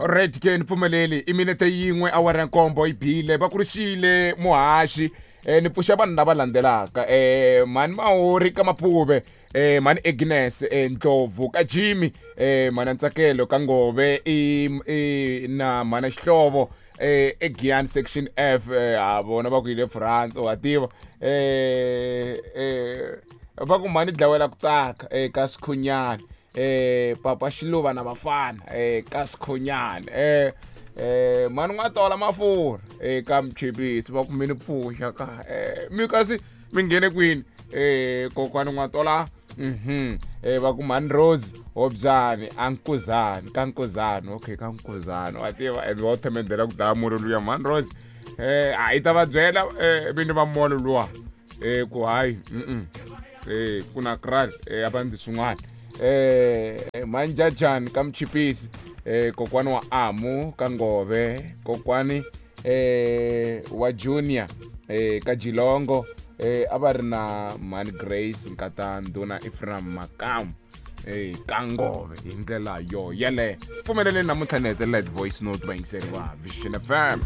Alright ke ni pfumeleli i minete yin'we awara ya nkombo yi bile va kurixile muhaxi ni pfuxa vanhu lava landzelaka mhani Mahori ka Maphuve, mhani Agnes Ndlovu ka Jimmy, mhana Ntsakelo ka Ngove i na mhana Xihlovo eGian section F, ha vona va ku yile France wa tiva, va ku mhani dlawela ku tsaka ka Sikhunyana, papa Xiluva na vafana ka Sikhunyana, mhani n'wa tola mafurha ka Mchipisi va ku mi ni pfuxa ka mi kasi mi nghene kwini, kokwani n'wa tola, va ku mhani Rose Hobyani ankuzani ka Nkuzani, okay ka Nkuzani wa tiva and va themendela ku dlaya molo luya mhani Rose, a yi ta va byela vini va molo luwa ku hayi ku na kral a va ndzi swin'wana, manjajani ka Mchipisi, kokwani wa Amu ka Ngove, kokwani wa Junior ka Jilongo, a va ri na mhani Grace Nkata Ndhuna Ephraim Makamu ka Ngove hi ndlela yo yeleyo. Pfumeleleni namuntlha ni hetelela hi voice note vayingiseri va Vision FM.